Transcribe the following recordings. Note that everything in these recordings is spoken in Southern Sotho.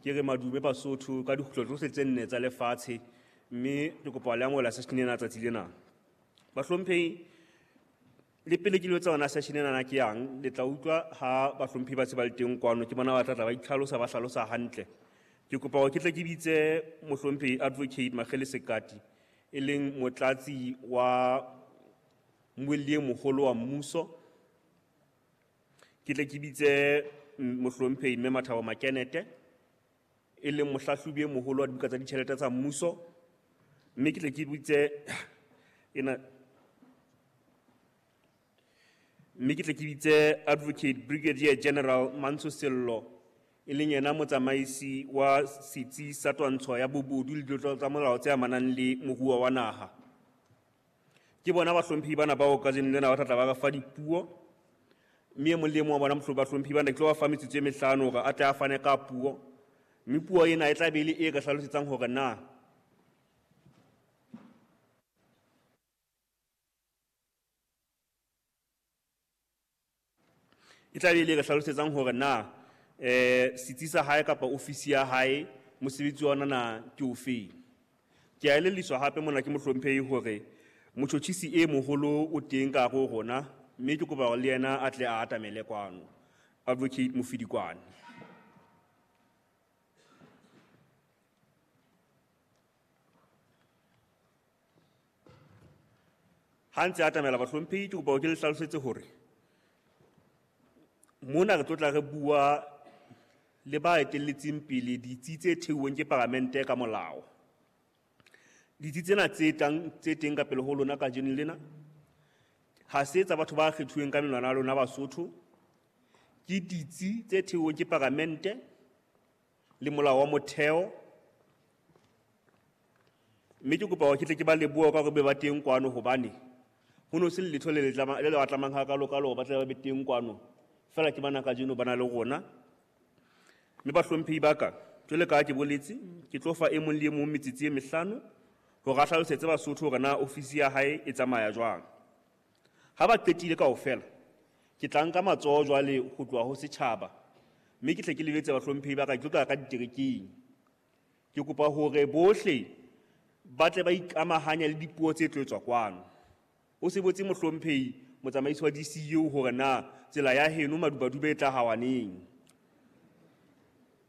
Ke re madume Basotho ka dikgutlo tsohle tse nne tsa lefatshe, mme ke kopa le amohela session ena tsatsi lena. Bahlomphehi, le pele ke lo etsa yona session ena ke yang, le tla utlwa ha bahlomphehi ba se ba le teng kwano, ke bona ba tla tla ba itlhalosa, ba hlalosa hantle. Ke kopa hore ke tle ke bitse mohlomphehi Advocate Makgele Sekati, e leng motlatsi wa mmuelli e moholo wa mmuso. Ke tle ke bitse mohlomphehi Mme Mathabo Makenete, e leng mohlahlobi e moholo wa dibuka tsa ditjhelete tsa mmuso. Mme ke tle ke bitse ena, mme ke tle ke bitse Advocate Brigadier General Mantsho Sello, e leng yena motsamaisi wa setsi sa twantsho ya bobodu le ditlolo tsa molao tse amanang le moruo wa naha. Ke bona bahlomphehi bana bao kajeno lena ba tla tla ba re fa dipuo, mme e mong le e mong wa bona bahlomphehi bana ke tlo ba fa metsotso e mehlano hore a tle a fane ka puo, mme puo ena e tla be e le e re hlalosetsang hore na e tla be e le re hlalosetsang hore na setsi sa hae kapa ofisi ya hae mosebetsi wa ona na ke ofeng. Ke a elelliswa hape mona ke mohlomphehi hore motjhotjhisi e moholo o teng ka hare ho rona, mme ke kopa hore le yena a tle a atamele kwano, Advocate Mofidikwane. Ha ntse a atamela bahlomphehi, ke kopa hore ke le hlalosetse hore mona re tlo tla re bua le ba etelletseng pele ditsi tse theuweng ke paramente ka molao. Ditsi tsena tse tlang, tse teng ka pele ho lona kajeno lena, ha se tsa batho ba kgethuweng ka menwana ya lona Basotho, ke ditsi tse theuweng ke paramente le molao wa motheo. Mme ke kopa hore ke tle ke ba lebohe ka hore be ba teng kwano, hobane ho no se le letho le le tlama, le le ba tlamang hakalo-kalo hore ba tle ba be teng kwano. Feela ke bana kajeno ba na le rona. Mme bahlomphehi ba ka, jwale ka ha ke boletse, ke tlo fa e mong le e mong metsotso e mehlano hore a hlalosetse Basotho hore na ofisi ya hae e tsamaya jwang. Ha ba qetile kaofela, ke tla nka matsoho jwale ho tloha ho setjhaba, mme ke tle ke lebetse bahlomphehi ba ka, ke tlo tla ka diterekeng. Ke kopa hore bohle ba tle ba ikamahanye le dipuo tse tlo etswa kwano. O se botse mohlomphehi motsamaisi wa DCU hore na tsela ya heno Madubadube e tla hawa neng.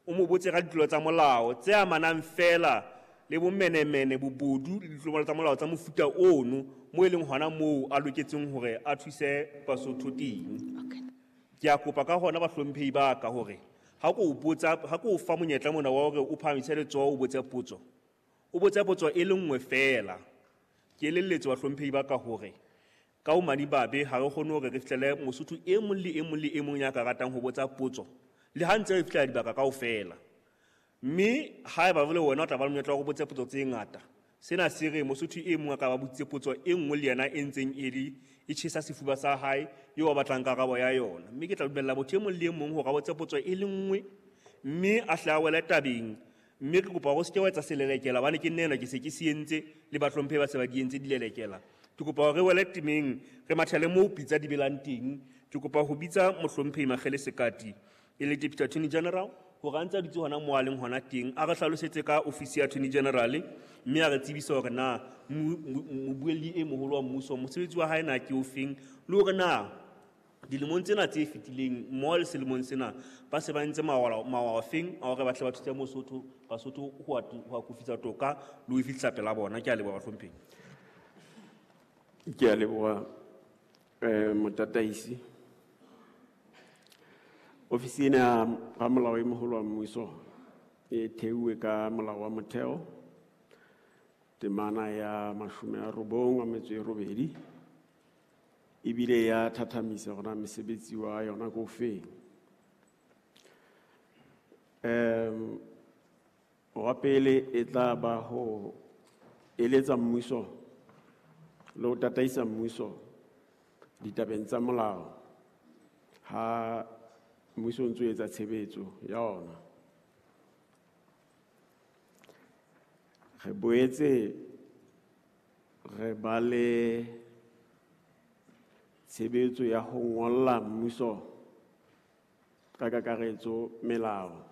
O mo botse ka ditlolo tsa molao tse amanang feela le bomenemene, bobodu le ditlolo tsa molao tsa mofuta ono, mo e leng hona moo a loketseng hore a thuse Basotho teng. Ke a kopa ka hona bahlomphehi ba ka hore ha ko botsa, ha ko fa monyetla mona wa hore o phahamise letsoho o botse potso, o botse potso e le nngwe feela. Ke elelletswe bahlomphehi ba ka hore ka ho madimabe ha re kgone hore re fihlele Mosotho e mong le e mong le e mong ya ka ratang ho botsa potso, le ha ntse re fihlela dibaka kaofela. Mme haeba jwale wena o tla ba le monyetla wa ho botsa potso tse ngata, sena se re Mosotho e mong a ka ba botsitse potso e nngwe le yena e ntseng e le e tjhesa sefuba sa hae eo a batlang karabo ya yona. Mme ke tla dumella motho e mong le e mong hore a botse potso e le nngwe, mme a hle a wele tabeng. Mme ke kopa hore o se ke wa etsa selelekela, hobane ke nna enwa ke se ke se entse, le bahlomphehi ba se ba di entse dilelekela. Ke kopa hore re wele temeng, re mathele moo pitsa di belang teng. Ke kopa ho bitsa mohlomphehi Makgele Sekati, e le Deputy Attorney General, hore a ntse a dutse hona moo a leng hona teng, a re hlalosetse ka ofisi ya Attorney General, mme a re tsebise hore na mobuelli e moholo wa mmuso mosebetsi wa hae na ke ofeng, le hore na dilemong tsena tse fetileng mmoho le selemong sena ba se ba entse mawao afeng a hore ba tle ba thuse Mosotho, Basotho ho akofisa toka le ho e fihlisa pela bona. Ke a leboha bahlomphehi. Ke a leboha motataisi. Ofisi ena ya ramolao e moholo wa mmuso e theuwe ka molao wa motheo temana ya 98 ebile ya thathamisa hore na mesebetsi wa yona ke ofeng. Wa pele e tla ba ho eletsa mmuso le ho tataisa mmuso ditabeng tsa molao ha mmuso o ntso o etsa tshebetso ya ona. Re boetse re ba le tshebetso ya ho ngolla mmuso ka kakaretso melao.